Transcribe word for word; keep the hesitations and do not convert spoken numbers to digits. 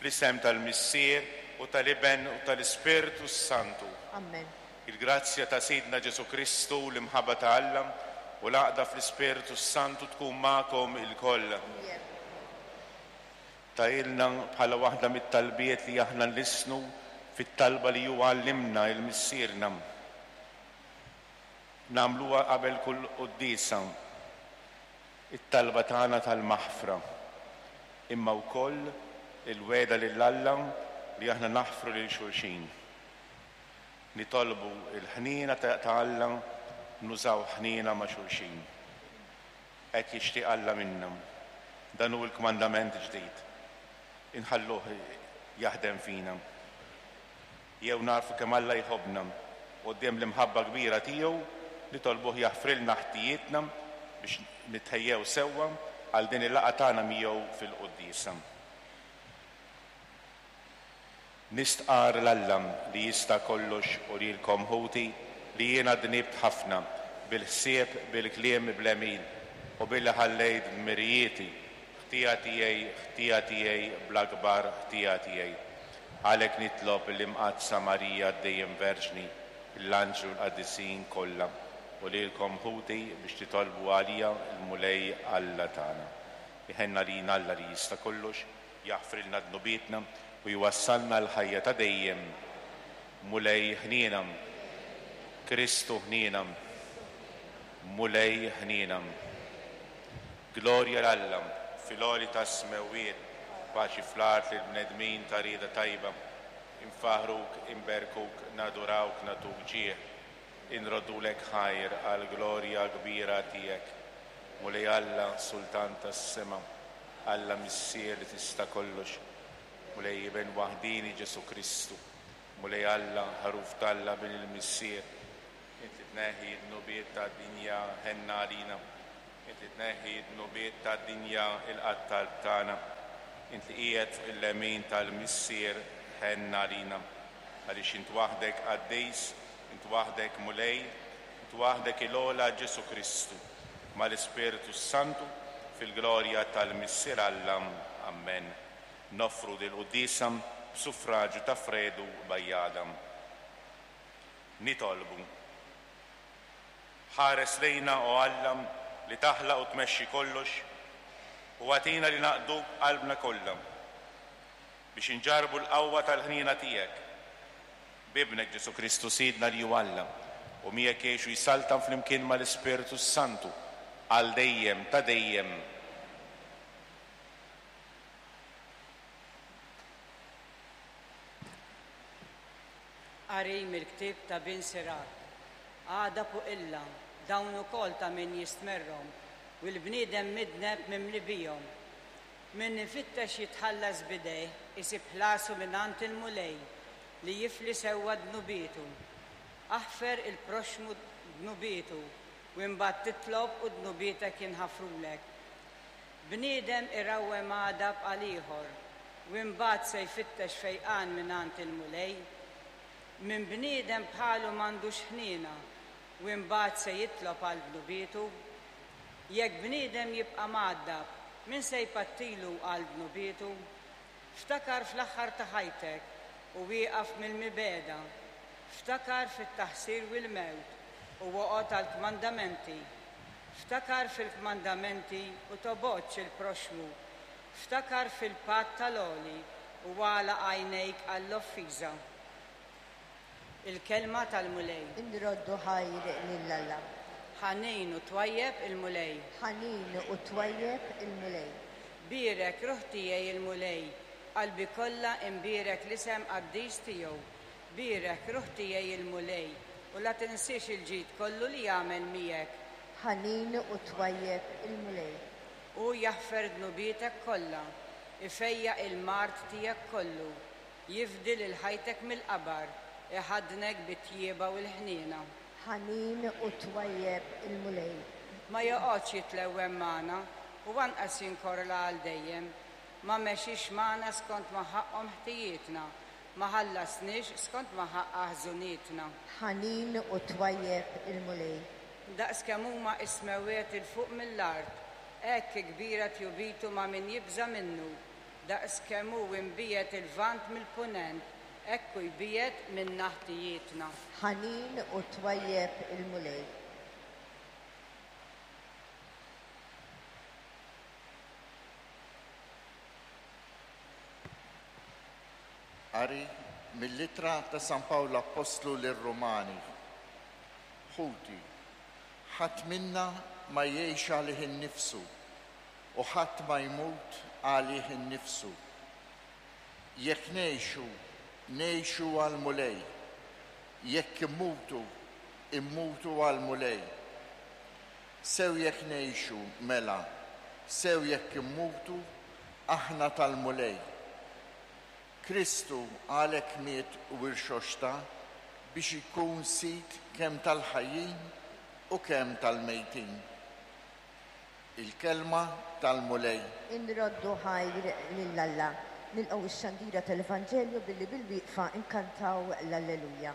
Fl-isem tal-Missier u tal-Iben u tal-Ispirtu Santu. Amen. Il-grazzja ta' Sidna Ġesu Kristu, l-imħabba ta' Alla u l-għaqda fl-Ispirtu Santu tkun magħkom ilkoll. Tahielna bħala waħda mit-talbiet li aħna nlissnu fit-talba li huwa għallimna il-Missierna. Nagħmluha qabel kull quddiesa it-talba tagħna tal-maħfra, imma wkoll il-wegħda lil Alla li aħna naħfru lil xulxin. Nitolbu il-ħniena ta' Alla, nużaw ħniena ma' xulxin. Hekk jixtieq Alla minna. Dan hu l-kmandament ġdid. Inħalluh jaħdem fina. Jew narfu kemm Alla jħobbna quddiem l-imħabba kbira tiegħu, nitolbuh jaħfrilna ħtijietna biex nitħejjew sewwa għal din il-laqgħa tagħna miegħu fil-quddiesa. Nistqar 'l Alla li jista' kollox u lilkom ħuti li jiena dnibt ħafna bil-ħsieb, bil-kliem, bl-għemil u billi ħallejt dmirijieti, ħtija tiegħi, ħtija tiegħi, bl-akbar ħtija tiegħi. Għalhekk nitlob l-Imqaddsa Marija dejjem Verġni, l-anġlu l-qaddisin kollha u lilkom ħuti biex titolbu għalija l-Mulej Alla tagħna. Iħenn għalina Alla li jista' kollox, jaħfrilna dnubietna u jwassalna l-ħajja ta' dejjem. Mulej ħniena, Kristu ħniena, Mulej ħniena. Glorja 'l Alla fil-għoli tas-smewwiet, paċi fl-art lil bnedmin ta' rieda tajba. Infaħruk, inberkuk, nadurawk, nagħtuk ġieħ. Inroddulek ħajr għall-glorja kbira tiegħek. Mulej Alla, Sultan tas-sema, Alla Missier li tista' kollox. Mulej Iben waħdini Ġesu Kristu. Mulej Alla, ħaruf t'Alla bin il-Missier. Inti tneħħi d-dnubiet tad-dinja, ħenn għalina. Inti tneħħi d-dnubiet tad-dinja, ilqa' t-talb tagħna. Inti qiegħed fuq il-lemin tal-Missier, ħenn għalina. Għaliex int waħdek qaddis, int waħdek Mulej, int waħdek il-ogħla Ġesu Kristu, mal-Ispirtu Santu, fil-glorja tal-Missier Alla. Amen. Noffru dil-quddiesa b'suffraġju ta' Fredu Bajada. Nitolbu. Ħares lejna, o Alla, li taħlaq u tmexxi kollox, u agħtina li naqduk qalbna kollha biex inġarbu l-qawwa tal-ħniena tiegħek. B'Ibnek Ġesu Kristu Sidna li hu Alla, u miegħek jgħix u jsaltan flimkien mal-Ispirtu Santu għal dejjem ta' dejjem. Qari mill-ktieb ta' Bin Sirak. Għadab u qilla, dawn ukoll ta' min jistmerrhom, u l-bniedem midneb mimli bihom. Min ifittex jitħallas b'idejh isib ħlasu mingħand il-Mulej li jifli sewwa dnubietu. Aħfer il-proxxmu dnubietu u imbagħad titlob u dnubietek jinħafrulek. Bniedem irawwem għadab għal ieħor u imbagħad se jfittex fejqan mingħand il-Mulej. Min bniedem bħalu m'għandux ħniena u imbagħad se jitlob għal dnubietu. Jekk bniedem jibqa' mgħaddab, min se jpattilu għal dnubietu? Ftakar fl-aħħar ta' ħajtek u wieqaf mill-mibegħda. Ftakar fit-taħsir u l-mewt u oqgħod għall-kmandamenti. Ftakar fil-kmandamenti u tobgħodx il-proxxmu. Ftakar fil-patt tal-għoli u għalaq għajnejk għall-offiża. Il-kelma tal-Mulej. Inroddu ħajr lil Alla. Ħanin u twajjeb il-Mulej. Ħanin u twajjeb il-Mulej. Bierek ruħ tiegħi il-Mulej, qalbi kollha imbierek l-isem qaddis tiegħu. Bierek ruħ tiegħi il-Mulej, u la tinsiex il-ġid kollu li jagħmel miegħek. Ħanin u twajjeb il-Mulej. Hu jaħfer dnubietek kollha, ifejjaq il-mard tiegħek kollu, jifdi lil ħajtek mill-qabar, iħaddnek bit-tjieba u l-ħniena. Ħanin u twajjeb il-Mulej. Ma joqgħodx jitlewwem magħna u anqas jinkorla għal dejjem. Ma mexix magħna skont ma ħaqhom ħtijietna, ma ħallasniex skont ma ħaqqa ħżunietna. Ħanin u twajjeb il-Mulej. Daqs kemm huma is-smewwiet 'il fuq mill-art, hekk kbira tjubitu ma' min jibża' minnu. Daqs kemm hu imbiegħed il-Lvant mill-Punent, hekk hu jbiegħed minna ħtijietna. Ħanin u twajjeb il-Mulej. Qari mill-ittra ta' San Pawl Appostlu lir-Rumani. Ħuti, ħadd minna ma jgħix għalih innifsu u ħadd ma jmut għalih innifsu. Jekk ngħixu, ngħixu għall-Mulej. Jekk immutu, immutu għall-Mulej. Sew jekk ngħixu mela, sew jekk immutu, aħna tal-Mulej. Kristu għalhekk miet u irxoxta biex ikun sid kemm tal-ħajjin u kemm tal-mejtin. Il-kelma tal-Mulej. Inroddu ħajr lil Alla. Nilqgħu x-xandira tal-Evanġelju billi bil-wieqfa nkantaw l-Alleluja.